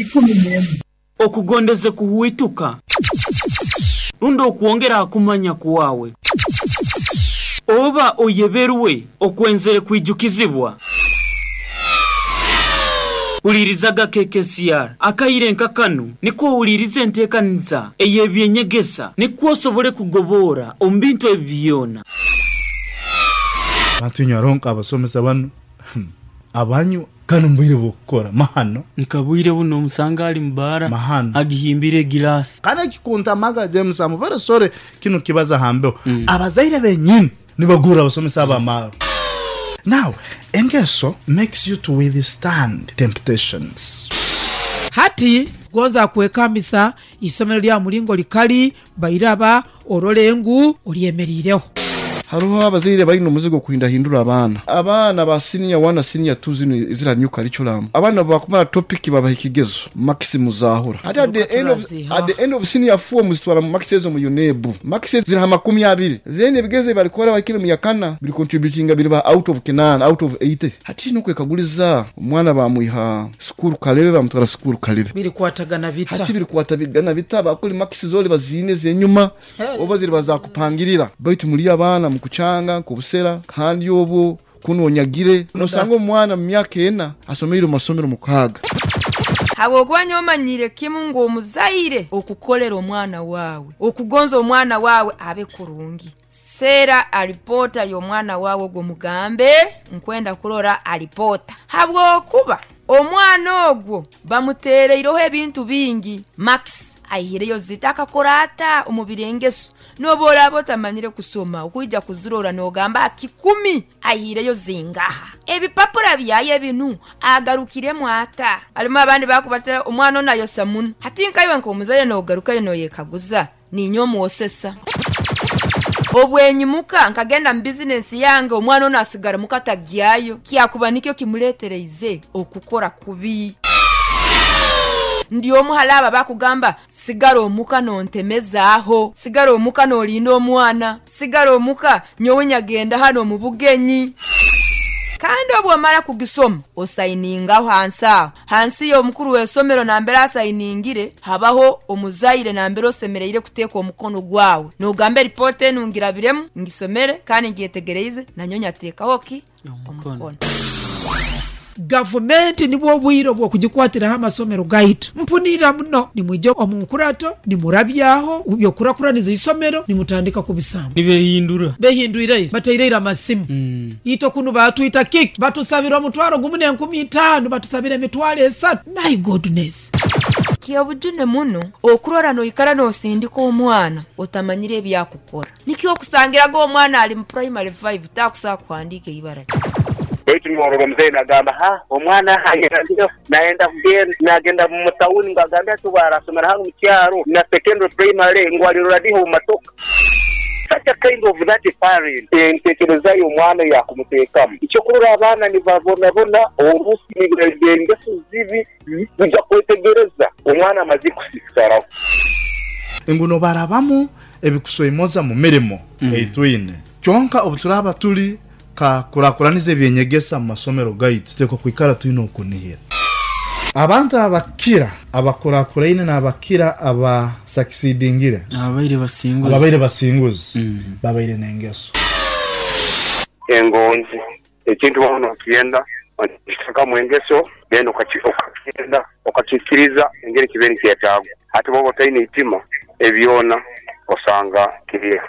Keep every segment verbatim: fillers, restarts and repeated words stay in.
Ikumi n'emu. Okugondeze kuhuituka rundi okwongera kumanya kwawe oba oyeberwe okwenzere kwijukizibwa. Ulirizaga K K C R akaire nkakanu niko ulirize enteekaniza ey'ebyenyegesa niko osobole kugobora omu bintu ebyona. Bantu nyaronka abasomesa banu abanyu kanu mbwire bukora mahano nkabwire buno omusanga ali mbara mahano agihimbire glass kana kikunta maga James amuvere sore kino kibaza hambeo mm. Abazaire benyini nibagura abasomesa abamaro. Now, engeso makes you to withstand temptations. Hati gonza kwekambisa isomero lya mulingo likali bairaba orolengu olyemerireho. Haruho abazaire bali no muzigo kuhindahindura abaana. Abaana ba senior one na senior two zino zira new curriculum. Abaana bakumara topic babaha ikigezo maximum zahura. At the end of at the end of senior four muzitwara mu maxes mu UNEB. Maxes zira makumi abiri. Then ebigeze balikora bakiri mu yakana biri contributing biri ba out of Kenan out of eighty. Hati no kwekaguliza omwana bamuiha school kalebe bamutwara school kalebe. Biri kwatagana bita. Hati biri kwatabigana bita bakuli maxes zoli bazine zenyuma oba ziri bazakupangirira. Baitu muri abaana kuchanga kubusera kandi obo kunonyagire nosanga omwana mu myaka ena asomeire mu masomero mukaga. Habwokuba nyomanyire kimu ngo omuzaire okukolera omwana wawe okugonza omwana wawe abe kurungi. Sera alipota y'omwana wawe ogwo mugambe nkwenda kurora alipota. Habwokuba omwana ogwo bamutereireho ebintu bingi max ahireyo zitaka korata omubirengeso nobora botamanyire kusoma okujja kuzurora nogamba kikumi ahireyo zingaha ebipapura byaye binu agarukiremu ata alimo abandi bakubatera omwana nayo samunu hati nkaiwe nkomuzaye nogarukayo noyekaguza ninyo muosesa obwenyimuka nkagenda mu business yange omwana ono asigara mukatagyayo kyakuba nikyo kimuletereize okukora kubi. Ndiyo muhalaba bakugamba sigara omuka nontemezaaho, sigara omuka nolinda omwana, sigara omuka nyowe nyagenda hano mu bugenyi. Kandi obwomara kugisoma osainingaho hansi aho hansi y'omukuru w'esomero nambere asainingire habaho omuzaire nambere osemereire kuteeka omukono gwawe nogamba report enu ngirabiremu ngisomere kandi ngyetegereize nanyonya ateekaho ki omukono. Gavumenti nibwo bwiro bwo kugikwatira amasomero gaitu mpunira muno nimwijjo omunkurato nimurabyaho byokurakuraniza isomero nimutandika kubisamba nibehindura behindwire bateireira amasimu mm. Ito kunu batwita kick batusabira omutwaro gumu n'enkumi itaano batusabira emitwaro esatu. My goodness. Kyobujune muno okurora noikara nosindika omwana otamanyire ebyakukora nikyo okusangiraga omwana ali mu primary five takusa kuandika ibara. Baitu niworora mzee nagamba ha omwana hayendio naenda kugenda nagenda mu town ngagambia tu barasomera hano mu kyaro na secondary primary ngwalirora diho mu matoka. Such a kind of that parent entekereza y'omwana yakumuteekamu icyo kurora abaana nibabonabona orusi nibwengeso zibi bijya kwetegereza omwana amaze kusikaraho enguno barabamu ebikusoimoza mu mirimo mm. Eitwine kyonka obuturaba tuli ka kurakuraniza ebyenyegesa mu masomero gaitu tutekwa kwikara tuino okunihira. Abantu abakira abakurakuraine n'abakira aba succeedingire abaire basinguzi abaire basinguzi mm. Babaire n'engeso engonzi ekintu wano kiyenda kitaka mwengeso genda okakiyenda okakikiriza engeri kibeni kyetaago ate bobo taine itima ebyona osanga kiriya.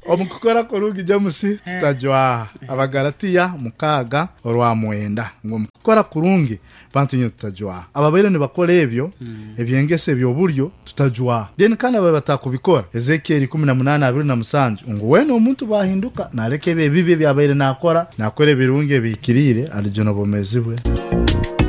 Omukukora kurungi James tutajwa Abagalatiya mukaga orwa mwenda ngo mukukora kurungi bantu nyo tutajwa ababaire nibakora ebyo mm. Ebyengese ebyoburyo tutajwa then kandi ababe batakubikora Ezekiel kumi na munana abiri na musanju ngo wene omuntu bahinduka nareke ebibi byabaire nakora nakora ebirungi ebikirire alijono bomezibwe.